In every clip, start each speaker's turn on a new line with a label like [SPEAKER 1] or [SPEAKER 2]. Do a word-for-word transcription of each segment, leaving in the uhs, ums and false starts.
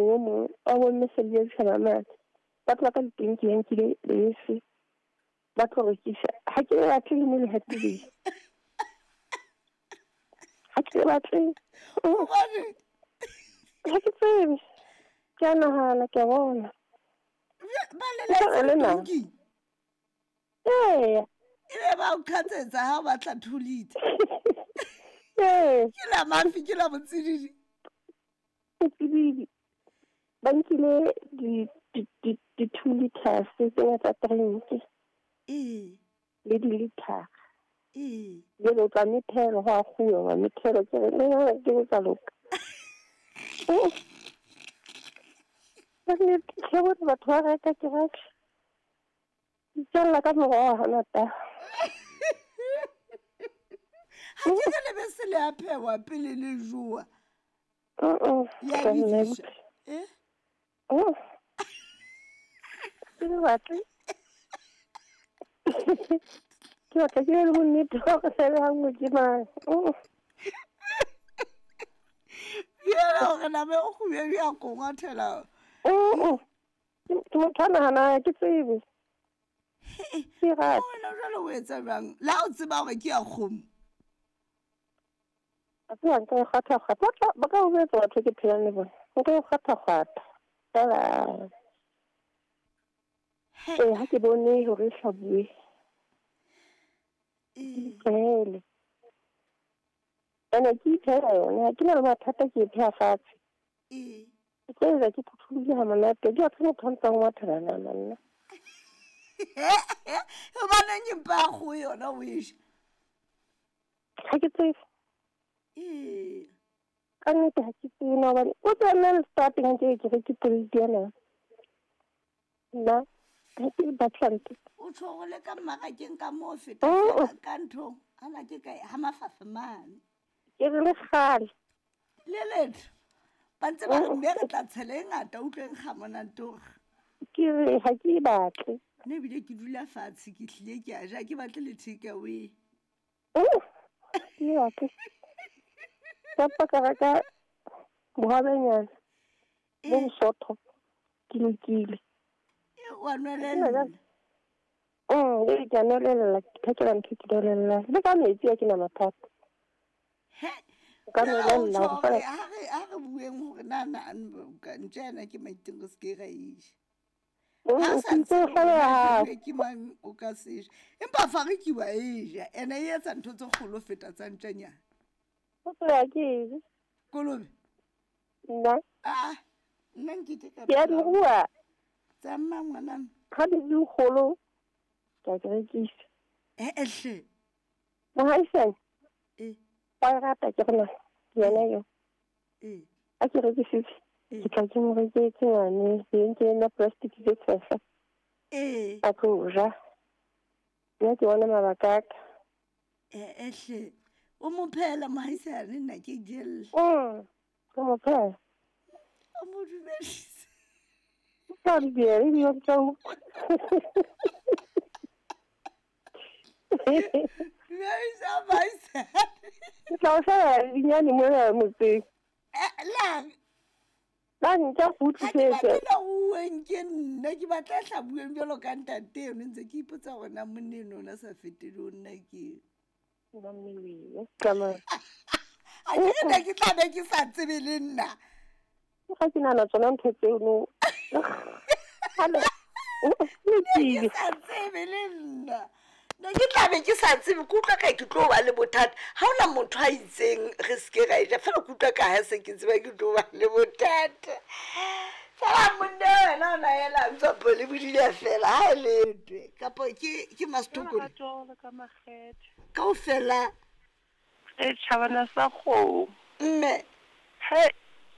[SPEAKER 1] motseng o mong wa bomme Selby Ditjhaba mane. Ba tloha ka ditonki ba nkile lebese ba tlo rekisa. Ha ke le batle le mo le hatile. Ha ke le batle.
[SPEAKER 2] Hobane
[SPEAKER 1] Ha ke tsebe. Ke a nahana, ke a bona.
[SPEAKER 2] Ba le
[SPEAKER 1] Ke tla le nna.
[SPEAKER 2] tonki.
[SPEAKER 1] Ee.
[SPEAKER 2] E be ba o qhatsetsa ha o batla two liter.
[SPEAKER 1] Ee.
[SPEAKER 2] Ke la mafi, ke la botsididi.
[SPEAKER 1] Botsididi. Ba nkile di, di, di, di two liters tsena tsa drink.
[SPEAKER 2] Ee.
[SPEAKER 1] Le di-liter.
[SPEAKER 2] Ee.
[SPEAKER 1] Jwale o tla methela, ho a kguwa, wa methela, ke re, le yona ke tsa loka. Ka nnete, ke bone batho ba reka, ke reka. Ke itjalla ka moroho hangata.
[SPEAKER 2] Ha ke re lebese le a phehwa pele le jowa.
[SPEAKER 1] Mm-mm.
[SPEAKER 2] Ya
[SPEAKER 1] Ka nna
[SPEAKER 2] bidiswa. Eh?
[SPEAKER 1] Oh. Ke le batle. Ke batla ke be le bonnete ba hore se le ha nngwe ke mang. Oh.
[SPEAKER 2] Yena hore nama e kgubedu ya kgongwathela.
[SPEAKER 1] Mm-mm. Ke motho a nahanang, ke tsebe. Ke rata.
[SPEAKER 2] Wena jwale o etsa jwang? Le ha o tseba hore ke ya kgomo.
[SPEAKER 1] A tseba nka e kgwatha-kgwatha. Ba tla, ba ka o jwetsa batho ke phelang le bona. Nka e kgwatha-kgwatha. Fela. Ee, ha ke bone hore e hlabuwe.
[SPEAKER 2] Ee.
[SPEAKER 1] Tlohele. Ene ke iphehela yona, ha ke na le mathata, ke e pheha fatshe.
[SPEAKER 2] Ee.
[SPEAKER 1] Ke tlo etsa ke phuthulohile ha monate. Ke batho motho a ntsang ngwathela nama nna.
[SPEAKER 2] Hobaneng ke mpa ya kgoho yona o e ja?
[SPEAKER 1] Ha ke tsebe.
[SPEAKER 2] Ee.
[SPEAKER 1] Ka nnete ha ke tsebe na hobane o tseba nna le starting ke ke reke plate ya nama. Nna ha ke batla ntho.
[SPEAKER 2] O tjho hore le ka mmarakeng ka moo o feta
[SPEAKER 1] Mm-mm.
[SPEAKER 2] feela ka nthong, ana ke kae, ha mafafa mane.
[SPEAKER 1] Ke re le kgale.
[SPEAKER 2] Le letho. Ba ntse ba re
[SPEAKER 1] Mm-mm.
[SPEAKER 2] mme re tla tshela e ngata, utlweng ga monate hore.
[SPEAKER 1] Ke re ha ke e batle.
[SPEAKER 2] Nna ebile ke dula fatshe, ke hlile ke a ja, ke batle le take away.
[SPEAKER 1] Mm. Ke e batle. Ka pa ka reka bohobenyana, bo
[SPEAKER 2] Eh.
[SPEAKER 1] bosotho, ke lokile.
[SPEAKER 2] E, wa nwelella.
[SPEAKER 1] Mm, ee, ke a nwelella, ke phekela ntho ke nwelella. Le ka metsi ha ke na mathata.
[SPEAKER 2] He,
[SPEAKER 1] Ka
[SPEAKER 2] jwale ha o
[SPEAKER 1] nwelella
[SPEAKER 2] tjho
[SPEAKER 1] hore
[SPEAKER 2] hore
[SPEAKER 1] feela
[SPEAKER 2] ha re, ha re bueng hore na na ka ntja ena ke maiteng re se ke ra e ja.
[SPEAKER 1] Mm,
[SPEAKER 2] Ha o sa
[SPEAKER 1] ke itse
[SPEAKER 2] tsebe
[SPEAKER 1] ho
[SPEAKER 2] hore na
[SPEAKER 1] hlabeha hape.
[SPEAKER 2] jwale ke mang o ka se ja. Empa fariki wa e ja, ene e etsa ntho tse kgolo ho feta tsa ntjanyana.
[SPEAKER 1] Ho tloha ke e je.
[SPEAKER 2] Kolobe?
[SPEAKER 1] Nna.
[SPEAKER 2] Ah, nna nkeke ka
[SPEAKER 1] Ke a di
[SPEAKER 2] phela.
[SPEAKER 1] rua.
[SPEAKER 2] Tsa mang ngwanana?
[SPEAKER 1] Ha di le kgolo, ke a di rekisa.
[SPEAKER 2] Eh, eh, hle.
[SPEAKER 1] Mohaisane.
[SPEAKER 2] Eh.
[SPEAKER 1] Wa e rata ke re na, ke yena eo.
[SPEAKER 2] Eh.
[SPEAKER 1] Ha ke rekisitse,
[SPEAKER 2] Eh.
[SPEAKER 1] ke tla ke mo reketse ngwane, ke entse ena plastic tse tshehla.
[SPEAKER 2] Eh.
[SPEAKER 1] A tlo ja. Nna ke bona mabaka a ka.
[SPEAKER 2] Eh, eh, hle. O mo phehela mohaisane, nna ke jella.
[SPEAKER 1] Mm, ke mo phehela.
[SPEAKER 2] O mo dumedise.
[SPEAKER 1] O tla di diela, ebile o tla utlwa.
[SPEAKER 2] Dumedisa mohaisane.
[SPEAKER 1] Ke tla o hlabela dinyane mona motseng.
[SPEAKER 2] Eh, lang?
[SPEAKER 1] La ntja go
[SPEAKER 2] Ha ke
[SPEAKER 1] utlwisetse.
[SPEAKER 2] batle le ruuweng ke nna, ke batla e hlabuweng jwalo ka ntate eno, ntse ke ipotsa hore na monna eno o na sa fetele ho nna ke.
[SPEAKER 1] Tsamaya.
[SPEAKER 2] Ha ke re ne ke tla be ke sa tsebe le nna.
[SPEAKER 1] Ga ke nahana tsona ntho tseo no. Hale.
[SPEAKER 2] Ne ke sa tsebe le nna. Ne ke tla be ke sa tsebe, ke utlwa ka ke tlo ba le bothata. Ha hona motho a itseng re se ke ra e ja, feela ke utlwa ka ha se ke tseba ke tlo ba le bothata. Fela monna wena o na ela ntse pole bodile fela, ha e letwe. Kapa ke, ke Mastokolo.
[SPEAKER 3] Lerato le ka makgethe.
[SPEAKER 2] Kaofela.
[SPEAKER 3] E tjhabana sa kgomo.
[SPEAKER 2] Mme.
[SPEAKER 3] He,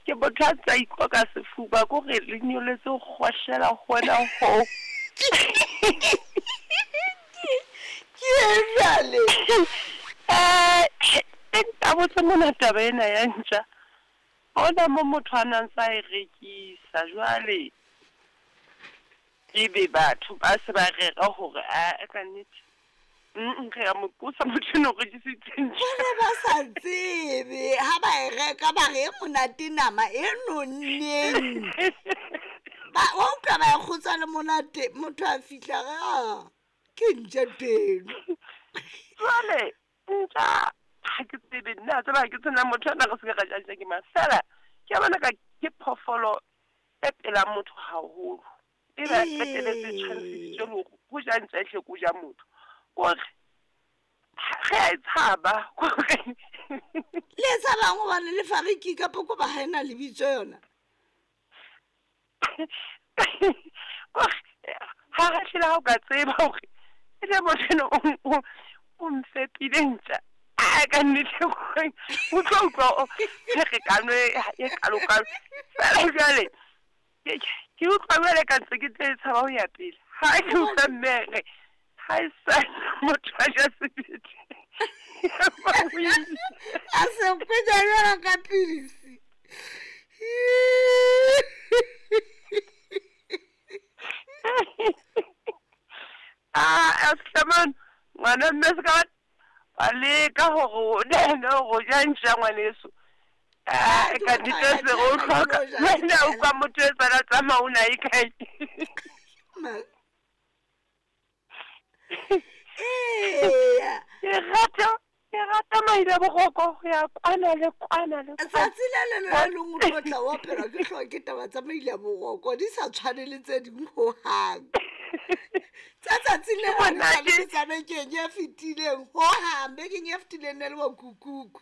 [SPEAKER 3] ke motho a ntsa ikoka sefuba, ke hore le nyoletse ho kgohlela hona ho.
[SPEAKER 2] Ke e jwale.
[SPEAKER 3] Eh, e ntabotse mona taba ena ya ntja. Hona mo motho a nang sa e rekisa jwale. Ebe batho ba se ba rera hore a ka nnete Mm, re a mo qosa motho eno o rekisitseng ntja.
[SPEAKER 2] Ba ne ba sa tsebe ha ba e reka ba re e monate nama e nonneng. Ba wa utlwa ba e kgotsa le monate motho a fihla re a ke ntja teno.
[SPEAKER 3] Jwale ntja ha ke tsebe nna tseba ha ke tsena motho ana re se ke ra ja ntja ke mang. Feela ke a bona ka ke phoofolo e pelang motho haholo. E ba qetelletse tshwantshisitswe le hore ho ja ntja ehle ke ho ja motho. Kore re a e tshaba kore
[SPEAKER 2] Le e tshabang hobane le fariki kapo ko ba ha ena lebitso yona.
[SPEAKER 3] Kore ha re hlile ha o ka tseba hore e le motho eno o o mfepile ntja. A ka nnete kore o tlo utlwa pherekano e kalo-kalo. Feela jwale ke utlwa jwale ka ntse ke tle tshaba ho ya pele. Ha ke utlwa mme re ha e sa motho a ja sebete.
[SPEAKER 2] A se kwenya jwalo ka pilisi.
[SPEAKER 3] Ah, Hlaman, ngwana mme se ka ba leka hore o nene hore o ja ntja ngwaneso. Ah, ka nnete se re o hloka. Wena o utlwa motho e sala tsamaya o na e kae.
[SPEAKER 2] Eya.
[SPEAKER 3] Ke rata, ke rata maile boroko ho ya kwana le kwana le kwana.
[SPEAKER 2] Tsatsi le leng le leng o tlo tla wa phela ke hlooho ke taba tsa maile a boroko di sa tshwane le tse ding hohang. Tsa tsatsi le leng le tshwane tsa bekeng e fetileng hohang, bekeng e fetileng ne le bo kukuku.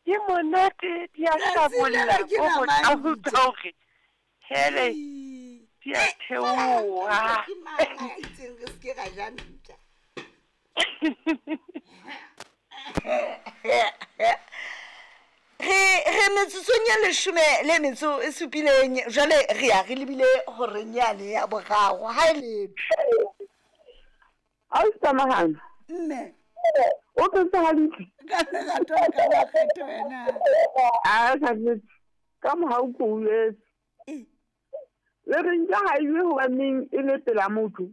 [SPEAKER 3] Ke monate di a hlabolla
[SPEAKER 2] ke
[SPEAKER 3] o
[SPEAKER 2] nama
[SPEAKER 3] ho
[SPEAKER 2] ntja.
[SPEAKER 3] utlwa hore hele di a theoha.
[SPEAKER 2] Ke mang a itseng re se ke ra ja ntja. Re re metsotsong e leshome le metso e supileng jwale re ya re lebile horeng yane ya boraro ha e letho.
[SPEAKER 4] Ha o tsamahana.
[SPEAKER 2] Mme.
[SPEAKER 4] O phetse hantle.
[SPEAKER 2] Ka lerato le ka makgetho wena.
[SPEAKER 4] A ka nnete. Ka mohau ko o etse. Le re ntja ha e je hobaneng e le pela motho.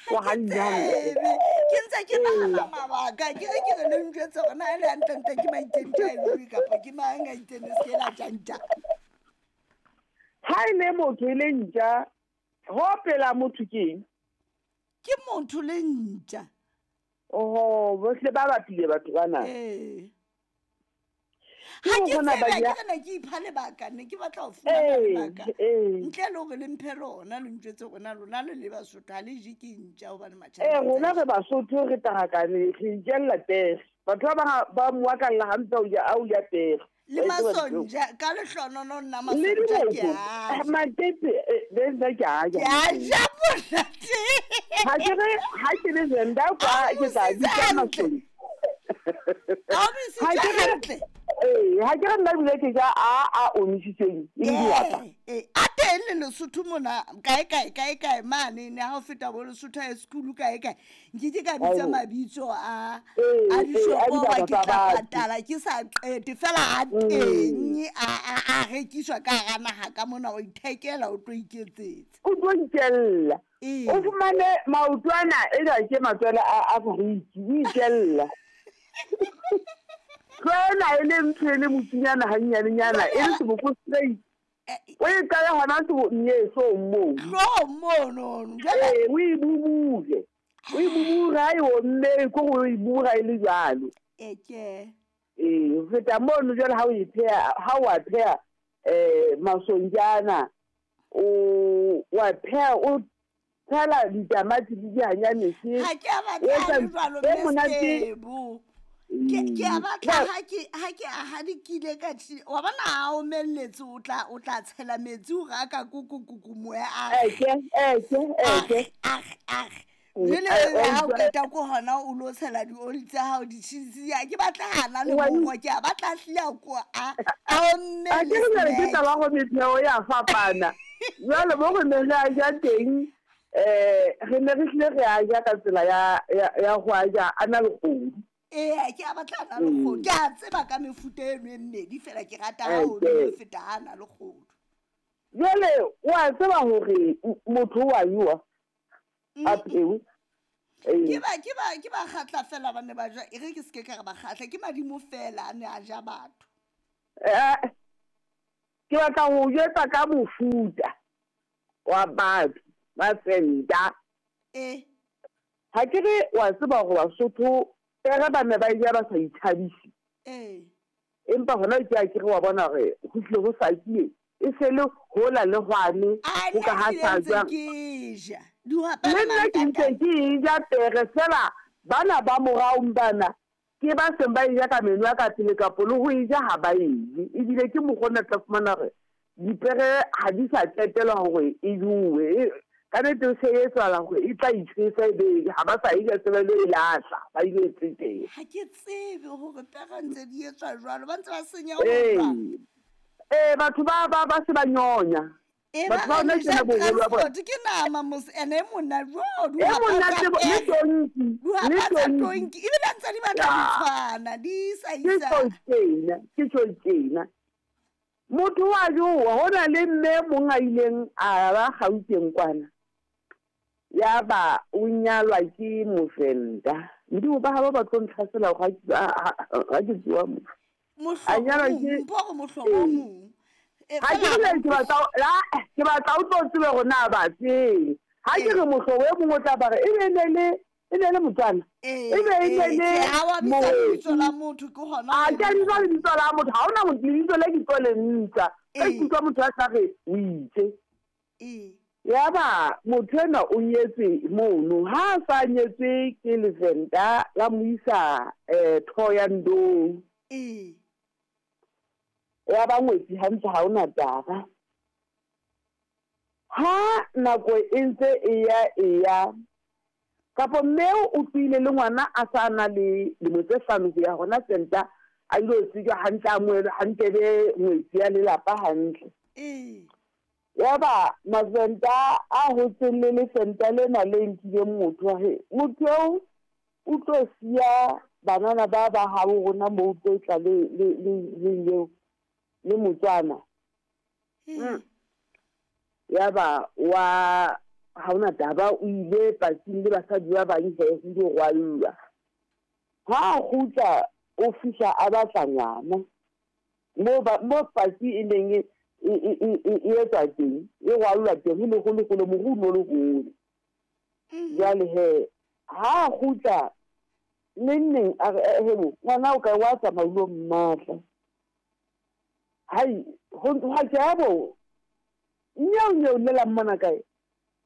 [SPEAKER 2] Ha ke tsebe. Ke ntse ke nahana mabaka ke re ke re le njwetse hore na e le hantlentle ke maitentje a e kapa ke mang a itseng le se ke la ja ntja.
[SPEAKER 4] Ha e le motho e le ntja, ho pela motho ke eng?
[SPEAKER 2] Ke motho le ntja.
[SPEAKER 4] Oho, bohle ba bapile batho bana.
[SPEAKER 2] Ee.
[SPEAKER 4] Ke
[SPEAKER 2] Ha
[SPEAKER 4] ho
[SPEAKER 2] ke
[SPEAKER 4] bona ba
[SPEAKER 2] tsebe,
[SPEAKER 4] ja-
[SPEAKER 2] ke re ne ke ipha lebaka, ne ke batla ho fumana
[SPEAKER 4] Ee,
[SPEAKER 2] lebaka.
[SPEAKER 4] ee.
[SPEAKER 2] Ntle le hore le mphe lona, le ntjwetse hore na lona le le Basotho ha le je ke ntja hobane
[SPEAKER 4] Ee,
[SPEAKER 2] matjhaneng
[SPEAKER 4] rona
[SPEAKER 2] tsa
[SPEAKER 4] re Basotho re tarakane, re ijella pere. Batho ba bang ba moakalla hampe o ja, a o ja pere.
[SPEAKER 2] Le
[SPEAKER 4] Ba etse batho.
[SPEAKER 2] masonja, ka lehlonono nna
[SPEAKER 4] Le
[SPEAKER 2] masonja ke
[SPEAKER 4] diboko.
[SPEAKER 2] a ja.
[SPEAKER 4] Matete, eh, le nna ke a ja.
[SPEAKER 2] Ke a ja monate.
[SPEAKER 4] Ha ke re, ha ke le Venda kwa,
[SPEAKER 2] A
[SPEAKER 4] ke tla
[SPEAKER 2] o
[SPEAKER 4] bitsa
[SPEAKER 2] hantle.
[SPEAKER 4] masonja.
[SPEAKER 2] A o
[SPEAKER 4] Ha ke re-
[SPEAKER 2] hantle.
[SPEAKER 4] Ee, ha ke re nna ebile ke ja a a omisitsweng e le dihwapa.
[SPEAKER 2] Ee, ee, a teng le Lesotho mona kae kae kae kae mane ne ha o feta bo Lesotho High School kae kae. Nkeke ka bitsa
[SPEAKER 4] Ao.
[SPEAKER 2] mabitso a
[SPEAKER 4] Ee,
[SPEAKER 2] a
[SPEAKER 4] ee, a
[SPEAKER 2] dishopo hoba
[SPEAKER 4] dibaka
[SPEAKER 2] ke
[SPEAKER 4] tsa
[SPEAKER 2] tla
[SPEAKER 4] batho.
[SPEAKER 2] patala ke sa qete fela a teng a a a rekiswa ka hara naha ka mona o ithekela o tlo iketsetsa.
[SPEAKER 4] O tlo itjella.
[SPEAKER 2] Ee.
[SPEAKER 4] O fumane maotwana e ka ke matswele a a fariki, o itjella. Tlwaela e le ntho e le motsinyana hanyanenyana, e le seboko straight. O e qale hona sebo hloohong moo.
[SPEAKER 2] Hloohong monono. Jwale
[SPEAKER 4] Ee, o e bubule. O e bubure ha e omme, ke hore o e bubura e le jwalo.
[SPEAKER 2] Eke.
[SPEAKER 4] Ee, ho feta mono jwale ha o e pheha, ha o a pheha eh masonjana, o wa pheha o tshela ditamati le dihanyanese.
[SPEAKER 2] Ha ke a
[SPEAKER 4] O
[SPEAKER 2] batla
[SPEAKER 4] etsa
[SPEAKER 2] a le jwalo
[SPEAKER 4] e monate.
[SPEAKER 2] Mme Ke ke a batla ha ke ha ke a hadikile ka tjhe wa bona ha o omelletse o tla o tla tshela metsi o raka kuku kuku moya a
[SPEAKER 4] Eke, eke, eke.
[SPEAKER 2] ah ah
[SPEAKER 4] Mm,
[SPEAKER 2] jwale
[SPEAKER 4] eh,
[SPEAKER 2] ha o
[SPEAKER 4] eh,
[SPEAKER 2] qeta ko hona o lo tshela dioli tsa hao di-cheese ya ke batla hana le
[SPEAKER 4] Wa
[SPEAKER 2] moro ke a batla hlile a ko a a omme
[SPEAKER 4] A ke
[SPEAKER 2] le
[SPEAKER 4] re jwale ke
[SPEAKER 2] snack.
[SPEAKER 4] taba ya hore metheo ya fapana. Jwale mo re neng re a ja teng, eh re ne re hlile re a ja ka tsela ya ya ya ho a ja a na le kgodu.
[SPEAKER 2] Ee, ke a batla a na le kgodu. Ke a tseba ka mefuta eno e mmedi fela ke rata ha o
[SPEAKER 4] Eke.
[SPEAKER 2] ho feta ha a na le kgodu.
[SPEAKER 4] Jwale wa tseba hore motho o a jowa a phewe.
[SPEAKER 2] Ke ba ke ba ke ba kgatla fela ba ne ba ja e re ke se ke ka re ba kgatla ke madimo fela a ne a ja batho.
[SPEAKER 4] Eh, ke batla ho jwetsa ka mofuta wa batho ba Venda.
[SPEAKER 2] Eh.
[SPEAKER 4] Ha ke re wa tseba hore Basotho pere ba ne ba e ja ba sa ithabise.
[SPEAKER 2] Eh.
[SPEAKER 4] Empa hona ke a ke re wa bona hore ho hlile ho sakile e se le hola le hwane
[SPEAKER 2] A
[SPEAKER 4] ho ka
[SPEAKER 2] nna
[SPEAKER 4] ha
[SPEAKER 2] ke
[SPEAKER 4] sa
[SPEAKER 2] ntse
[SPEAKER 4] jwang.
[SPEAKER 2] ke ja. Dihwapa
[SPEAKER 4] Le
[SPEAKER 2] le
[SPEAKER 4] nna ke ntse
[SPEAKER 2] mantatane.
[SPEAKER 4] ke e ja pere fela bana ba moraong bana ke ba seng ba e ja ka meno a ka pele kapo le ho e ja ha ba e je. Ebile ke mokgwa ona tla fumana hore dipere ha di sa qetelwa hore e jowe. E ka nnete e se e etsahala hore e tla itjhesa ebe ha ba sa e ja se ba ilo e lahla, ba ilo e tsetela.
[SPEAKER 2] Ha ke tsebe hore pere ntse di etswa jwalo ba ntse ba senya ho
[SPEAKER 4] Ee.
[SPEAKER 2] jwang.
[SPEAKER 4] Ee, batho ba ba ba se ba nyonya.
[SPEAKER 2] E ba
[SPEAKER 4] Batho ba
[SPEAKER 2] re
[SPEAKER 4] hona
[SPEAKER 2] le ja
[SPEAKER 4] tjena boholo ba bona.
[SPEAKER 2] transport ke nama mos ene e monate jo
[SPEAKER 4] E
[SPEAKER 2] dihwapa
[SPEAKER 4] monate
[SPEAKER 2] tsa
[SPEAKER 4] bo le
[SPEAKER 2] pere.
[SPEAKER 4] tonki, le
[SPEAKER 2] Dihwapa tsa
[SPEAKER 4] tonki.
[SPEAKER 2] tonki ebile ntse di batla di
[SPEAKER 4] Ya.
[SPEAKER 2] tshwana di sa
[SPEAKER 4] Ke
[SPEAKER 2] isa.
[SPEAKER 4] tjho tjena, ke tjho tjena. Motho wa jowa ho na le mme e mong a ileng a ba Gauteng kwana. Ya ba o nyalwa ke Movenda. Modimo ba habo ba tlo ntlhasela hore ha ke ha ke bua mo. A
[SPEAKER 2] Mohlobo
[SPEAKER 4] nyalwa
[SPEAKER 2] o mong,
[SPEAKER 4] ke
[SPEAKER 2] mpo hore mohlobo o
[SPEAKER 4] ee.
[SPEAKER 2] mong. E
[SPEAKER 4] Ha ke
[SPEAKER 2] fela
[SPEAKER 4] re ke batla la ke batla o tlo tsebe hore na ba tsebe. Ha ke
[SPEAKER 2] Ee.
[SPEAKER 4] re mohlobo e mong o tla ba re e be ne le e ne le Motswana.
[SPEAKER 2] Ee,
[SPEAKER 4] E be e ne
[SPEAKER 2] ee,
[SPEAKER 4] le
[SPEAKER 2] tjhe, ha wa bitsa lebitso
[SPEAKER 4] Moeti.
[SPEAKER 2] la motho ke hona
[SPEAKER 4] A
[SPEAKER 2] ho
[SPEAKER 4] ke a
[SPEAKER 2] leng
[SPEAKER 4] bitsa lebitso la motho, ha hona motho lebitso le ke tlo le ntsha. Ka
[SPEAKER 2] Ee.
[SPEAKER 4] ikutlwa motho a sa re o itse.
[SPEAKER 2] Ee.
[SPEAKER 4] Yaba motho enwa o nyetswe mono. Ha a sa nyetswe ke Levenda la mo isa eh Thohoyandou.
[SPEAKER 2] Ee.
[SPEAKER 4] Ya ba ngwetsi hantle ha hona taba. Ha nako e ntse e ya e ya kapo mme o tlohile le ngwana a sa na le dilemo tse hlano ho ya hona Venda a ilo tsejwa hantle a amohelwe hantle be ngwetsi ya lelapa hantle.
[SPEAKER 2] Ee.
[SPEAKER 4] Yaba Mavenda a hotseng le Levenda lena le nkileng motho wa he motho eo o tlo siya banana ba ba habo rona moo o tlo tla le le le le eo le Motswana.
[SPEAKER 2] Ee.
[SPEAKER 4] Yaba wa ha hona taba o ile patsing le basadi ba bang he ho ilo rwallwa. Ha a kgutla o fihla a batla ngwana. Moo ba moo patsi e neng e e e e e etswa teng, e rwallwa teng ho ne ho le hole moru o no le hole.
[SPEAKER 2] Mhm.
[SPEAKER 4] Jwale he ha a kgutla neng neng a re hebo ngwana o kae wa tsamaya o ilo mmatla. Hai ho ha ke a bo nyeo nyeo llela mmona kae?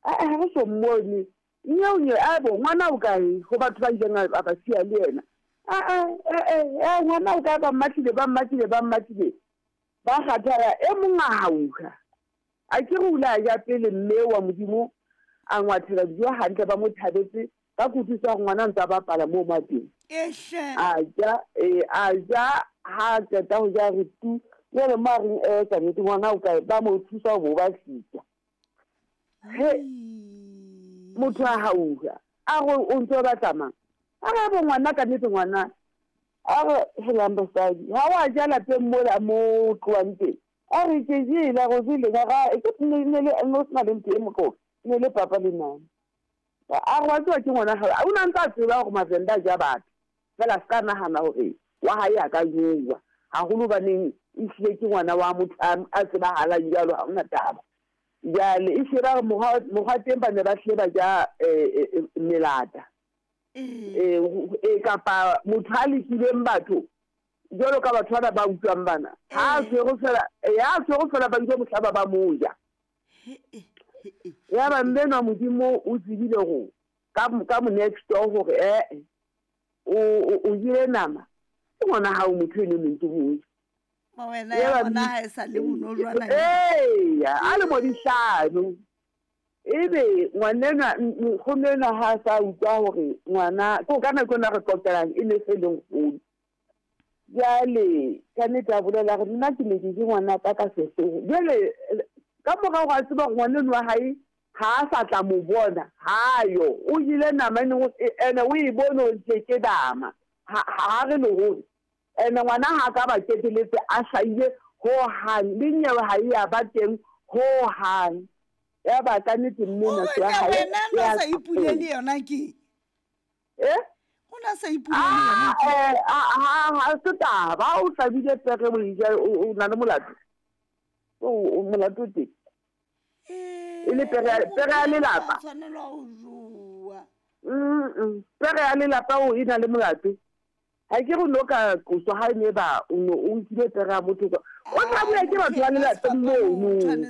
[SPEAKER 4] Ah ha re so mmone. Nyeo nyeo a bo ngwana o kae ho batho ba ileng a ba siya le yena. Ah ah eh eh ngwana o kae ba mmatlile ba mmatlile ba mmatlile. Ba kgathala e mong a hauha. A ke re o ile a ja pele mme wa Modimo a ngwathela dijo hantle ba mo thabetse ka kutlwisiso ya hore ngwana a ntse a bapala moo mo teng.
[SPEAKER 2] Ehle.
[SPEAKER 4] A ja eh a ja ha qeta ho ja re tu. Jwale mo a reng eh ka nnete ngwana o kae ba mo thusa ho bo ba tlisa. He motho a hauha a re o ntso batla mang? A re bo ngwana ka nnete ngwana. A re helang basadi ha wa ja lapeng mola mo tlohang teng. A re ke jele a re o jele ka e ke ne ne le no sena le ntho e moqoqo ne le papa le nana. A re wa tseba ke ngwana hao. O na ntse a tseba hore Mavenda a ja batho. Fela a ska nahana hore wa hae a ka jowa. Haholo hobaneng ehlile ke ngwana wa motho a tsebahalang jwalo ha hona taba. Jwale e hlile ba re mokgwa mokgwa teng ba ne ba hlile ba ja eh melata.
[SPEAKER 2] Ee.
[SPEAKER 4] Eh kapa motho a lekileng batho jwalo ka batho bana ba utlwang bana. Ha a tshwere fela ya tshwere fela ba ile mohlaba ba mo ja. Yaba mme enwa Modimo o tsebile hore ka ka mo next door hore eh o o jele nama. Ke ngwana hao motho eno ne ntse mo ja.
[SPEAKER 2] Ma wena ya bona ha e sa le bonojwana.
[SPEAKER 4] Ee, a le mo dihlano. Ebe ngwanenwa nkgono enwa ha sa utlwa hore ngwana ko ka nako ena re qoqelang e ne se le nkgono. Jwale ka nnete a bolela hore nna ke ne ke je ngwana ka ka sehloho. Jwale ka morao a tseba hore ngwaneno wa hae ha a sa tla mo bona, ha yo. O jele nama ene ene o e bone hore ke ke nama. Ha ha re le hore ene ngwana ha ka ba keteletse a hlahile ho hang le nyewe ha e ya ba teng ho hang. Ya ba ka nnete mme
[SPEAKER 2] O
[SPEAKER 4] nako ya
[SPEAKER 2] wena
[SPEAKER 4] hae
[SPEAKER 2] wena
[SPEAKER 4] ya
[SPEAKER 2] no sa ipulele yona ke?
[SPEAKER 4] Eh?
[SPEAKER 2] O na sa ipolele yena.
[SPEAKER 4] Ah, eh, ha ha se taba, o hlabile pere o e ja, o o na le molato. O o molato o teng. E le pere ya- pere ya lelapa.
[SPEAKER 2] Tshwanelwa ho jowa.
[SPEAKER 4] Mm, pere ya lelapa o e na le molato. Ha ke re no ka qoswa ha e ne ba o no o nkile pere ya motho ka. O tla bua ke batho ba lelapeng mono.